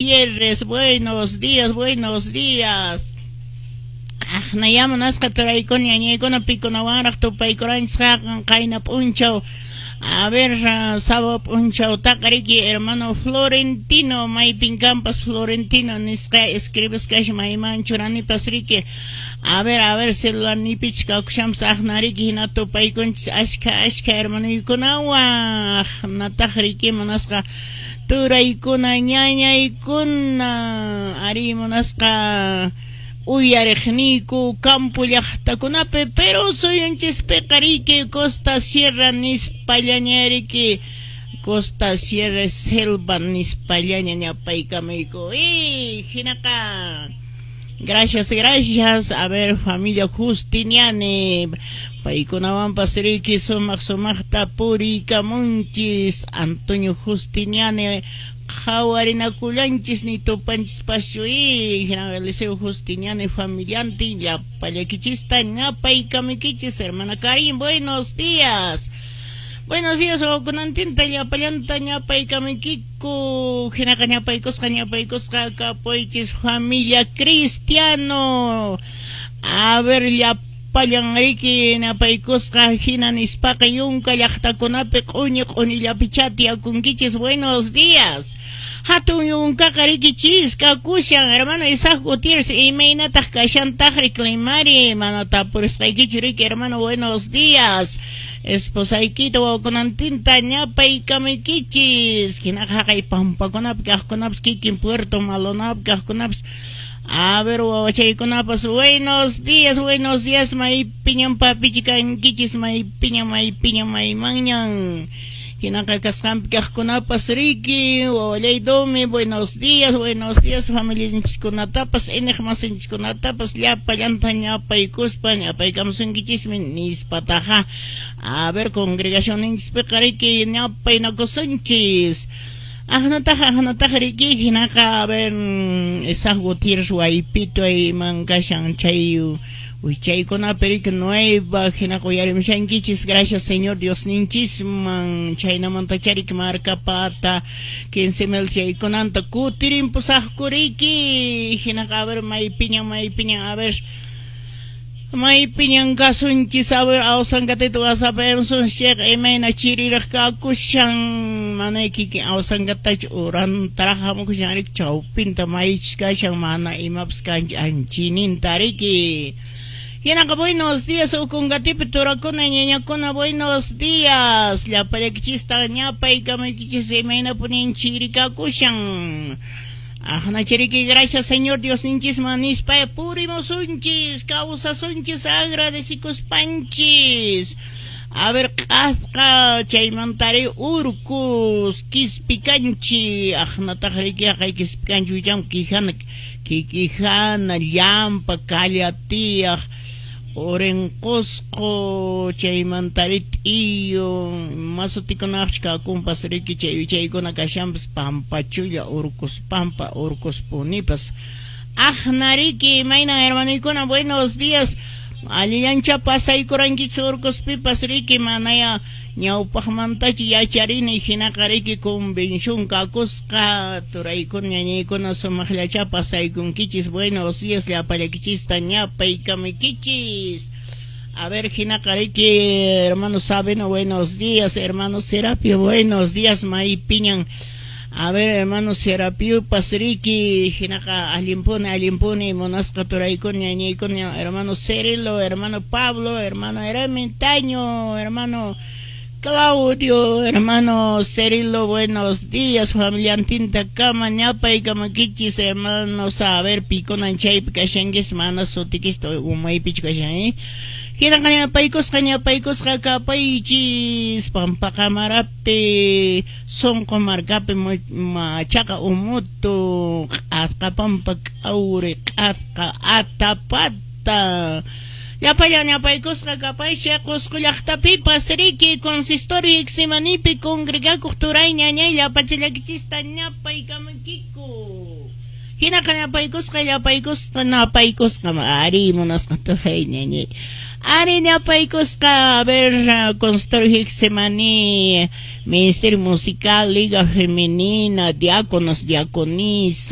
Gutiérrez, buenos días, buenos días. Aqnaya munasqa turaykuna ñañaykuna pikunawanraq tupaykuranchis qayna p'unchaw. A ver, sábado p'unchawtaqa riki hermano Florentino, maypin kanpas Florentino nisqa escribisqash mayman churanipas riki. A ver, celularniypichu kakushanpas aqna riki hina tupaykunchis ashkha ashkha hermanoykunawan. Aqnataq riki munasqa turaykuna ñañaykuna ari munasqa uyariqniyku campo llaqtakunapi, pero suyunchispiqa riki Costa Sierra nispallaña riki Costa Sierra Selva nispallaña ñapaykamayku. Y hinaqa gracias, gracias. A ver, familia Justiniani, paykunawanpas riki sumaq sumaqta puriykamunchis. Antonio Justiniani qhawarinakullanchis ni tupanchispaschu y hina Eliseo Justiniani familiantin llapallakichista ñapaykamaykichis. Hermana Karin, buenos días. Buenos días, wawakunantinta llapallanta ñapaykamaykiku. Hinaqa ñapaykusqa ñapaykusqa kapuychis familia cristiano. A ver, llapallan riki ñapaykusqa hina nispaqa yunka llaqtakunapi q'uñi q'uñillapichá tiyakunkichis. Buenos días. Hatun yunkaqa riki chiskakushan. Hermano Isaac Gutiérrez, imaynataq kashantaqri climari? Mana tapurisqaykichu riki, hermano, buenos días. Esposaykita wawakunantinta ñapaykamaykichis. Hinaqa haqay pampakunapi kaqkunapas kikin Puerto Maldonado kaqkunapas. A ver, wawachaykunapas, buenos días, buenos días, maypiñan papichi kankichis, maypiñan, maypiñan, maymanñan. Hinaqa kasqanpi kaqkunapas riki, wawallay Domi, buenos días, familianchiskunatapas, iñiqmasinchiskunatapas, llapallanta ñapaykuspa, ñapaykamusunkichismi nispataqa. A ver, congregacionninchispiqa riki, ñapaynakusunchis. Aqnataq, aqnataq riki, hinaqa, a ver, Isaac Gutiérrez waypito ayman kashan chay wichaykunapi riki nueva hinaqa uyarimushankichis. Gracias Señor Diosninchisman chaynamanta riki markapata 15 mil chaykunanta kutirimpusaqku riki. Hinaqa, a ver, maypiñan, maypiñan, a ver, maypiñan kasunchis. A ver, Awsangatita WhatsApp chayqa imayna chiriraq kakushan, mana kikin Awsangatachu urantaraq hamukushan riki, chawpinta maychus kashan mana imapas kanchu anchininta riki. Hinaqa buenos días Ocongatipi turakuna ñañakuna, buenos días, llapallaykichista ñapaykamaykichis, imaynapunin chiri kakushan. Aqnachariki gracias Señor Diosninchisman nispa purimusunchis, kawsasunchis agradecikuspanchis. A ver, q'asqa chaymantari urkus Quispicanchi, aqnataq riki haqay Quispicanchi wicham quijana kikijana llampa kallatiyaq Orenqosqo chaymantari t'iyo masutikunaqchu kakunpas riki chay wichaykuna kashanpas pampachulla urkus pampa urkus punipas. Aqnariki imayna hermanoykuna, buenos días. Allillancha pasaykurankichis urkuspipas riki, manaya ñawpaqmantachu yacharini hinaqa riki convención kakusqa turaykuna ñañaykuna sumaqllacha pasaykunkichis. Buenos días llapallaykichista ñapaykamaykichis. A ver, hinaqa riki hermano Sabino, buenos días, hermano Serapio, buenos días, maypiñan. A ver, hermano Serapio riki, hinaqa allinpuni, allinpuni, munasqa turaykuna ñañaykuna, hermano Cerilo, hermano Pablo, hermano Eremitaño, hermano Claudio, hermano Cerilo, buenos días, familiantinta kama, ñapaykamaykichis, hermanos, a ver, pikunan chaypi kashankis, mana sutikista umaypichu kashan, eh? Hinaqa ñapaykusqa ñapaykusqa kapaychis Pampaqamarapi Sunqu markapi machaqa umutu q'asqa pampa k'awri q'asqa atapata. Llapallan ñapaykusqa kapaychi Qusqu llaqtapipas riki consistorio Getsemanipi congregakuq turay ñañay llapachallakichista ñapaykamaykiku. Hinaqa ñapaykusqa llapaykusqa napaykusqa ari munasqa turay ñañay. Ari ñapaykusqa, a ver, consistorio Getsemani, Ministerio Musical, Liga Femenina, diáconos, diaconisas.